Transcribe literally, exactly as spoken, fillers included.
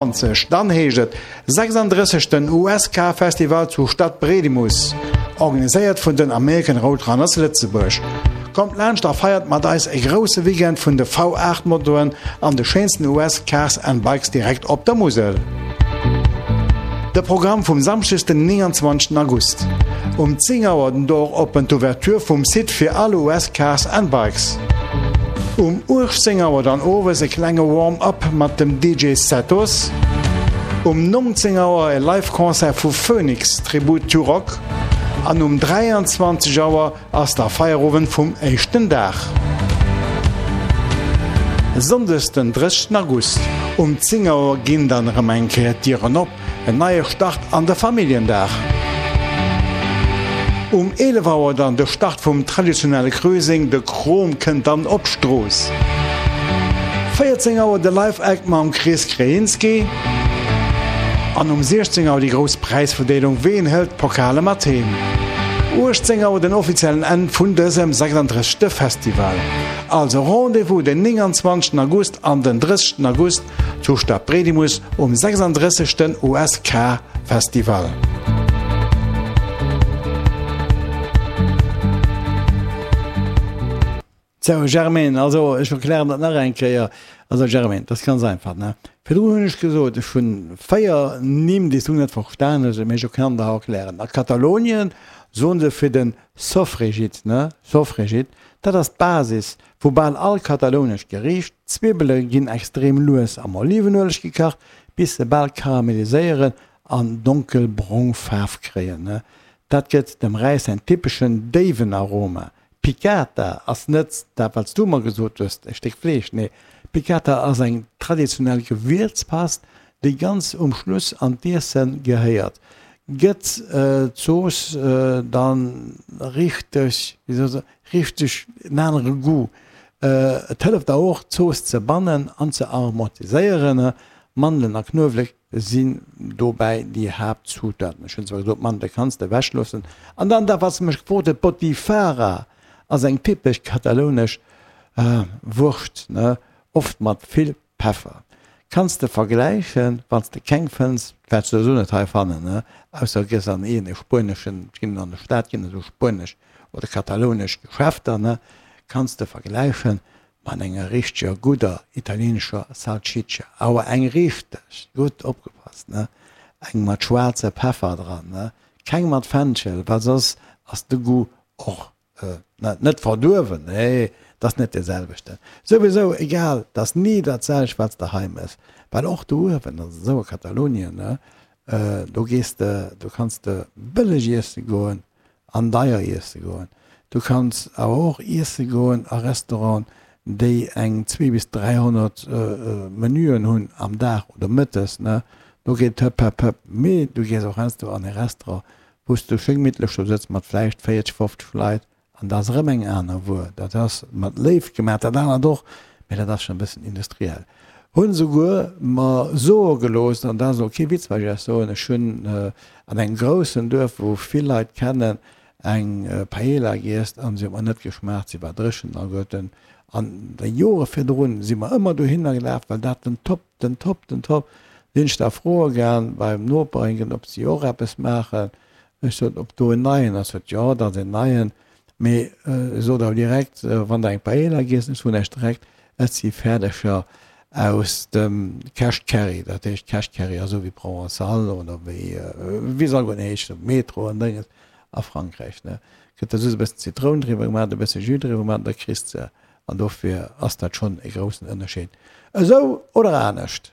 Dann heescht et sechsunddrësseg den U S K Festival zu Stadbredimus, organiséiert vun den American Roadrunners Lëtzebuerg. Kommt laanscht a feiert mat eis e grousse Weekend vun de V acht Motoren an de schéinsten U S Cars and Bikes direkt op der Musel. De Programm vum Samschdeg den neunundzwanzegsten August. Um zéng Auer den Door open, d'Ouverture vum Site fir all U S Cars and Bikes. Um uechtzéng Auer dann owes e klenge Warm-up mat dem D J Setos. Um neunzéng Auer e Live-Concert vu Phoenix Tribute to Rock an um dräianzwanzeg Auer ass der Feierowend vum éischten Dag. Sonndes den drëssegsten August. Um zéng Auer ginn dann erëm eng Kéier d'Dieren op, en neie Start an de Familljendag. Um eelef Auer dann de Start vum traditionelle Cruising, de Krom kënnt dann op d'Strooss. véierzéng Auer de Live-Act mam Chris Krejinski an um siechzéng Auer déi grouss Präisverdeelung, ween hëlt d'Pokale mat heem? uechtzéng Auer den offiziellen Enn vun dësem sechsunddrëssegste Festival. Also Rendez-vous den neunundzwanzegsten August an den drëssegsten August zu Stadbredimus um sechsunddrëssegsten U S K Festival. Sou, Germaine, also ech erklären dat nach eng Kéier. Also Germaine, dat ass ganz einfach, ne? Virdrun hunn ech gesot, ech hunn véier Nimm, déi s du net verstan hues, mee ech kann der erklären. A Katalonien soen se fir den Sofregit, ne? Sofregit, dat ass d'Basis vu bal all katalounescht Geriicht. D'Zwibbele ginn extrem lues am Olivenueleg gekacht, bis se bal karameliséieren an donkelbrong Faarf kréien, ne? Dat gëtt dem Räis säin typeschen déiwen Aroma. Piccata ass net dat, wat s du mer gesot hues, e Stéck Fleesch. Nee, Piccata ass eng traditionell Gewierzpast, déi ganz um Schluss an d'Iesse gehéiert. Gëtt d'Zooss dann richteg, wéi soll ech soen, richteg en anere Goût. Et hëlleft der och, d'Zooss ze bannen an ze aromatiséieren. Mandelen a Knuewelek sinn dobäi déi Haaptzutaten. Ech hunn zwar gesot, Mandele kanns de ewechloossen. An dann dat, wat s de mech gefrot huet, Botifarra ass eng typesch katalounesch Wurscht, oft mat vill Peffer. Kanns de vergläichen, wann s de keng fënns, wäerts de souwisou net hei fannen, ausser du gees an een e spueneschen, et ginn an der Stad ginn esou spuenesch oder katalounesch Geschäfter, kanns de vergläichen mat enger richteger gudder italienescher Salsiccia, awer eng richteg gutt, opgepasst, ne, eng mat schwaarze Peffer dran, ne, keng mat Fenchel, well soss ass de Goût och net verduerwen, nee, 't ass net dee selwechten. Souwisou egal, 't ass ni dat selwecht, wat s de hei mëss, well och do uewen, also esou a Katalonien, ne, do gees de, do kanns de bëlleg iesse goen an deier iesse goen. Du kanns awer och iesse goen a Restauranten, déi eng zwee bis dräihonnert Menüen hunn am Dag oder mëttes, ne, do geet et hëpp, hëpp, hëpp. Mee du gees och heiansdo an e Restaurant, wou s du schéi gemittlech do sëtz mat vläicht véierzeg, fofzeg Leit an dat ass erëm eng aner Wuer. Dat ass mat Léift gemaach, dat anert och, mee dat ass schonn e bëssen industriell. Hunn esouguer mer soe gelooss, an dat ass elo kee Witz, wat ech iech soen, ech hunn an engem groussen Duerf, wou vill Leit kennen, eng Paella giess an se huet mer net geschmaacht, se war dréchen alleguerten. An de Jore virdrun si mer ëmmer dohinner gelaf, well dat den Top, den Top, den Top. Sinn ech da froe gaang beim Noper, ob si och eppes maachen. Ech sot, ob do en neien ass. Sot, jo, dat ass en neien. Mee sot awer direkt, wann der eng Paella giess, ech soen iech direkt, et si Fäerdeger aus dem Cash Carry. Dat heescht, Cash Carry ass esou wéi Provençal oder wéi, wéi se alleguerten heeschen, Metro an Dénges a Frankräich, ne. Gëtt da just e bëssen Zitroun driwwer gemaach, e bësse Jus driwwer gemaach, da kriss de. An dofir ass dat schonn e groussen Ënnerscheed. Esou oder anescht.